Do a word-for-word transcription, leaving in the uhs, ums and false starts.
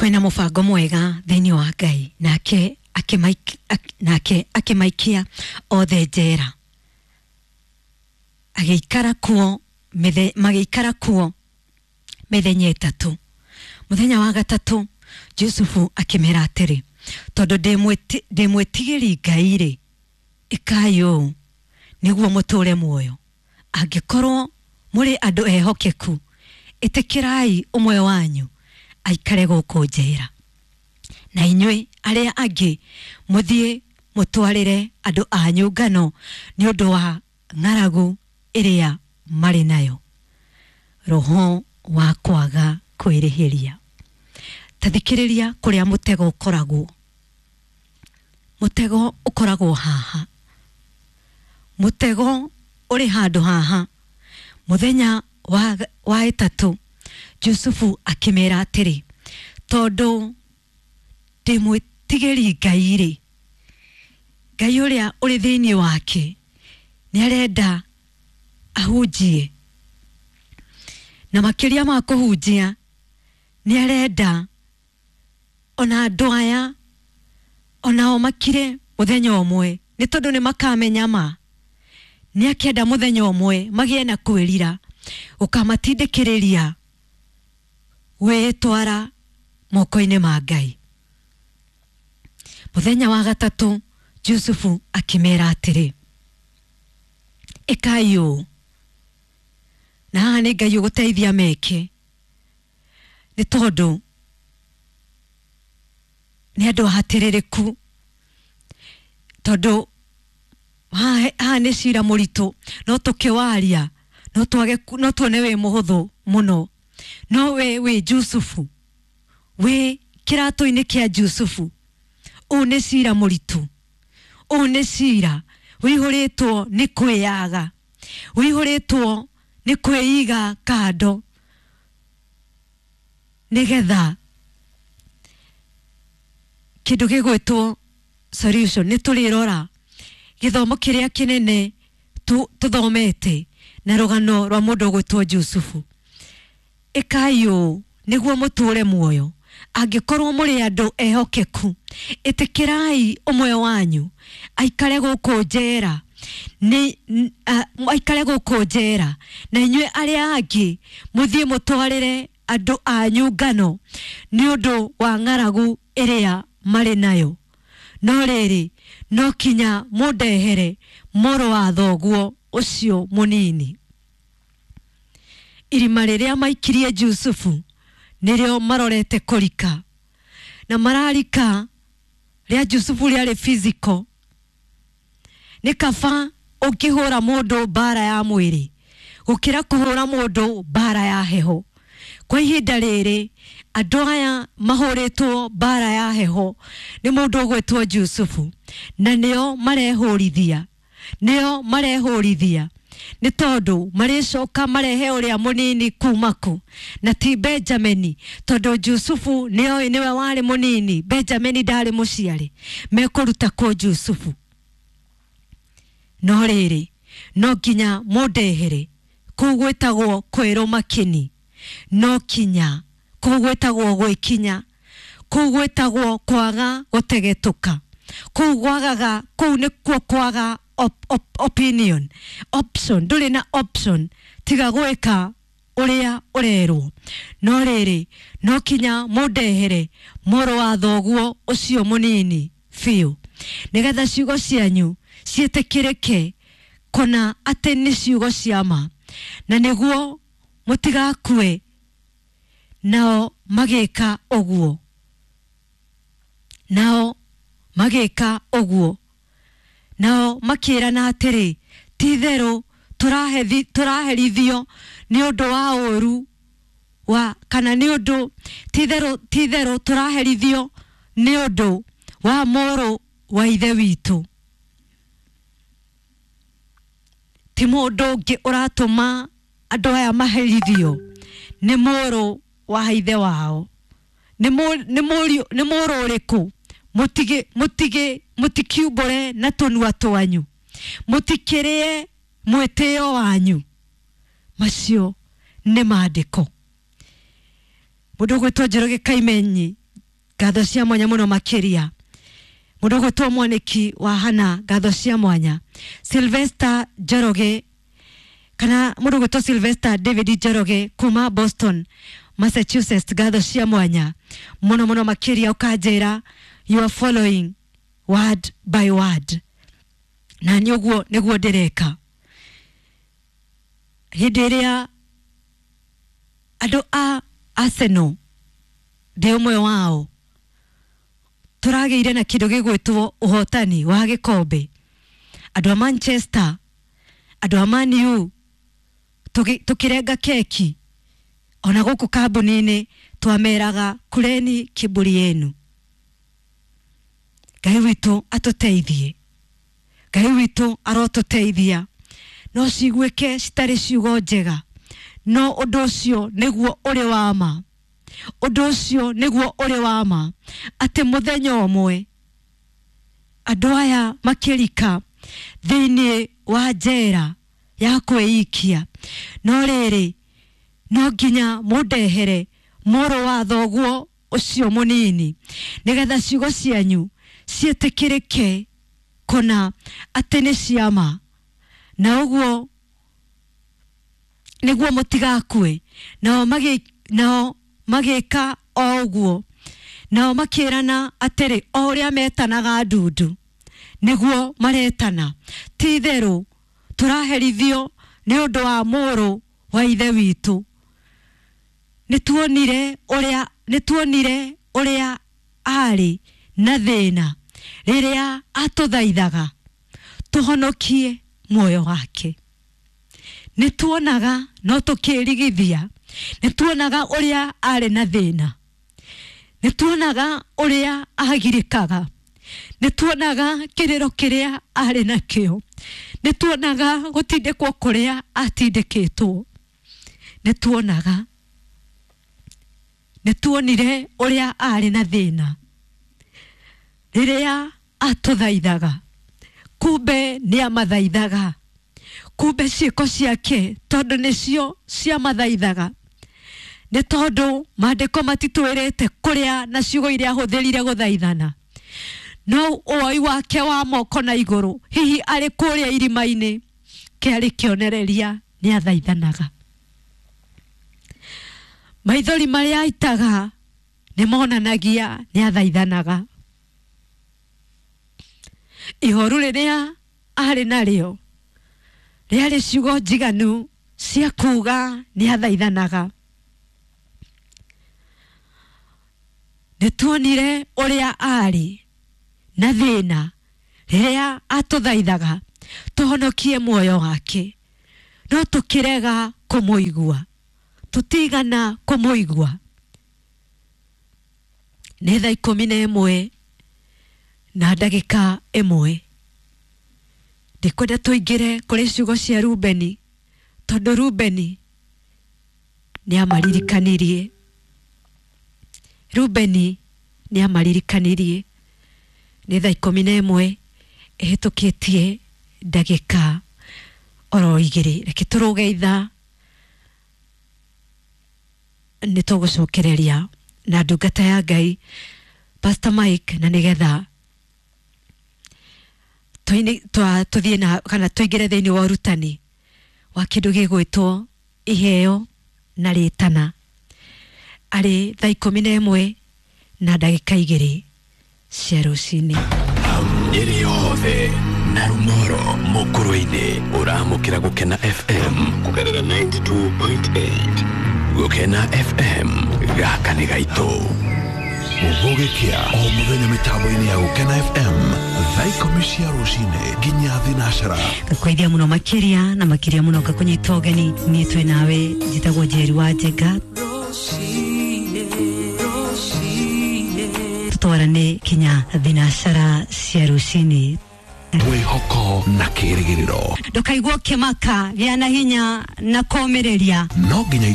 Kwĩna mũbango mwega thĩinĩ wa Ngai, nake akĩmaik- ak- nake akĩmaikia othe njera, agĩikara kuo mithe, magĩikara kuo mĩthenya ĩtatũ. Mũthenya wa gatatũ Jusufu akĩmera atĩrĩ, tondũ ndĩ mwĩti- ndĩ mwĩtigĩri Ngai rĩ, ĩkai ũũ nĩguo mũtũre muoyo. Angĩkorwo mũrĩ andũ ehokeku, ĩtĩkĩrai ũmwe wanyu aikare gũkũ njera, na inyuĩ arĩa angĩ mũthiĩ mũtwarĩre andũ anyu ngano nĩ ũndũ wa ng'aragu ĩrĩa marĩ nayo. Roho wa kwaga kwĩrĩhĩria. Ta thikĩrĩria kũrĩa mũtego ũkoragwo. Mũtego ũkoragwo haha, mũtego ũrĩ handũ haha. Mũthenya wa, wa ĩtatũ Jusufu akĩmera atĩrĩ, tondũ ndĩ mwĩtigĩri Ngai rĩ, Ngai ũrĩa ũrĩ thĩinĩ wake nĩ arenda ahunjie, na makĩria ma kũhunjia nĩ arenda ona andũ aya onao makire mũthenya ũmwe, nĩ tondũ nĩ makamenya ma. Nĩ akĩenda mũthenya ũmwe magĩe na kwĩrira gũkamatindĩkĩrĩria gwĩtwara moko-inĩ ma Ngai. Mũthenya wa gatatũ Jusufu akĩmera atĩrĩ, ĩkai ũũ, na haha nĩ Ngai ũgũteithia meke, nĩ tondũ nĩ andũ ahatĩrĩrĩku, tondũ haha haha nĩ cira mũritũ, no tũkĩwaria no twage no tuone wĩ mũhũthũ mũno, no we wĩ Jusufu, wĩ kĩratũ-inĩ kĩa Jusufu, ũũ nĩ cira mũritũ, ũũ nĩ cira wĩihũrĩtwo nĩ kwĩyaga, wĩihũrĩtwo nĩ kwĩiga kando nĩgetha kĩndũ gĩgwĩtwo solution. Nĩ tũrĩrora gĩthomo kĩrĩa kĩnene tu- tũthomete na rũgano rwa mũndũ ũgwĩtwo Jusufu. Ĩkai ũũ nĩguo mũtũre muoyo, angĩkorwo mũrĩ andũ ehokeku, ĩtĩkĩrai ũmwe wanyu aikare gũkũ njera, nĩ n- a- aikare gũkũ njera, na inyuĩ arĩa angĩ mũthiĩ mũtwarĩre andũ anyu ngano nĩ ũndũ wa ng'aragu ĩrĩa marĩ nayo. No rĩrĩ, no kinya mũndehere mũrũ wa thoguo ũcio mũnini. Irima rĩrĩa maikirie Jusufu nĩrĩo marorete kũrika, na mararika rĩa Jusufu rĩarĩ physical. Nĩ kaba ũngĩhũra mũndũ mbara ya mwĩrĩ gũkĩra kũhũra mũndũ mbara ya heho. Kwa ihinda rĩrĩ andũ aya mahũrĩtwo mbara ya heho nĩ mũndũ ũgwĩtwo Jusufu, na nĩo marehũrithia, nĩo marehũrithia nĩ tondũ marĩcoka marehe ũrĩa mũnini kuma kũ, na ti Benjamini, tondũ Jusufu nĩoĩ nĩwe warĩ mũnini, Benjamini ndarĩ mũciarĩ. Mekũruta kũ Jusufu? No rĩrĩ, no nginya mũndehere kũu gwĩtagwo kwĩrũma kĩni, no kinya kũu gwĩtagwo gwĩkinya, kũu gwĩtagwo kwaga gũtegetũka, kũu gwagaga, kũu nĩkuo kwaga op, op, opinion, option. Ndũrĩ na option tiga gwĩka ũrĩa ũrerwo. No rĩrĩ, no kinya mũndehere mũrũ wa thoguo ũcio mũnini biũ, nĩgetha ciugo cianyu ciĩtĩkĩrĩke kũna atĩ nĩ ciugo cia ma, na nĩguo mũtigakue. Nao magĩka ũguo, nao magĩka ũguo, nao makĩrana atĩrĩ, ti-itherũ tũrahethi- tũraherithio nĩ ũndũ wa ũũru wa kana nĩ ũndũ ti-itherũ ti-itherũ tũraherithio nĩ ũndũ wa mũrũ wa ithe witũ. Ti mũndũ ũngĩ ũratũma andũ aya maherithio, nĩ mũrũ wa ithe wao. Nĩ mũ- nĩ mũriũ nĩ mũrũ ũrĩkũ? Mũtige mũtige mũtikiumbũre na tũnua twanyu, mũtikĩrĩe mwĩtĩo wanyu. Macio nĩ maandĩko. Mũndũ ũgwĩtwo Njoroge Kaimenyi, Ngatho cia mwanya muno makiria. Mundu gwitwo Mwaniki wa Hana, ngatho cia mwanya. Sylvester Njoroge kana mundu gwitwo Sylvester David Njoroge kuma Boston, Massachusetts, ngatho cia mwanya muno muno makiria. Ukanjira you are following word by word, na ni uguo niguo ndireka. Hindi iria andu a Arsenal ndi umwe wao turageire na kindu gigwitwo uhotani wa gikombe, andu a Manchester, andu a Man U tukirenga keki ona guku kambuni-ini twameraga kureni kiburi yenu. Ngai witu atuteithie, Ngai witu arotuteithia. No ciguĩke citarĩ ciugo njega, no ũndũ ũcio nĩguo ũrĩ wa ma, ũndũ ũcio nĩguo ũrĩ wa ma, atĩ mũthenya ũmwe andũ aya makĩrika thĩinĩ wa njera ya kwĩikia, no rĩrĩ no nginya mũndehere mũrũ wa thoguo ũcio mũnini nĩgetha ciugo cianyu ciĩtĩkĩrĩke kũna atĩ nĩ ciama, na ũguo nĩguo mũtigakue. Nao magĩ nao magĩka o ũguo, nao makĩrana atĩrĩ, o ũrĩa metanaga ndundu nĩguo maretana, ti itherũ tũraherithio nĩ ũndũ wa mũrũ wa ithe witũ. Nĩtuonire ũrĩa nĩtuonire ũrĩa arĩ na thĩna rĩrĩa atũthaithaga tũhonokie muoyo wake. Nĩtuonaga no tũkĩrigithia, nĩtuonaga ũrĩa arĩ na thĩna, nĩtuonaga ũrĩa agirĩkaga, nĩtuonaga kĩrĩro kĩrĩa arĩ nakĩo, nĩtuonaga gũtindĩkwo kũrĩa atindĩkĩtwo, nĩtuonaga nĩtuonire ũrĩa arĩ na thĩna rĩrĩa atũthaithaga. Kumbe nĩ amathaithaga, kumbe ciĩko ciake tondũ nĩcio ciamathaithaga, nĩ tondũ maandĩko matitwĩrĩte kũrĩa na ciugo iria ahũthĩrire gũthaithana, no ũoi wake wa moko na igũrũ hihi arĩ kũrĩa irima-inĩ kĩarĩ kĩonereria nĩ athaithanaga. Maithori marĩa aitaga nĩ monanagia nĩ athaithanaga. Ihoru rĩrĩa arĩ narĩo rĩarĩ ciugo njiganu cia kuuga nĩ athaithanaga. Nĩtuonire ũrĩa arĩ na thĩna rĩrĩa atũthaithaga tũhonokie muoyo wake, no tũkĩrega kũmũigua, tũtigana kũmũigua. Nĩ thaa ikũmi na ĩmwe na ndagĩka ĩmwe. Ndikwenda tũingĩre kũrĩ ciugo cia Rubeni, tondũ Rubeni nĩ amaririkanirie. Rubeni nĩ amaririkanirie. Nĩ thaa ikũmi na ĩmwe ĩhĩtũkĩtie ndagĩka oro igĩrĩ. Reke tũrũge ithaa nĩ tũgũcokereria na ndungata ya Ngai Pastor Mike, na nĩgetha tũthiĩ na kana tũingĩre thĩinĩ wa ũrutani wa kĩndũ gĩgwĩtwo iheo na rĩtana. Arĩ thaa ikũmi na ĩmwe na ndagĩka igĩrĩ cia rũcinĩ. Nyĩrĩ yothe na Rumoro mũkũrũ-inĩ ũramũkĩra Gũkena F M kũgerera ninety-two point eight. Gũkena F M gaka nĩ gaitũ. Gũgĩkĩa o mũthenya mĩtambo-inĩ ya Gũkena F M thaa ikũmi cia rũcinĩ nginya thinacara. Ngakũgeithia mũno makĩria na makĩria mũno ngakũnyita ũgeni. Niĩ twĩ nawe, njĩtagwo Njeri wa Njenga. Tũtwarane kinya thinacara cia rũcinĩ. Mwĩhoko na kĩrĩgĩrĩro. Ndũkaigua ũkĩmaka, gĩa na hinya na kũũmĩrĩria. No nginya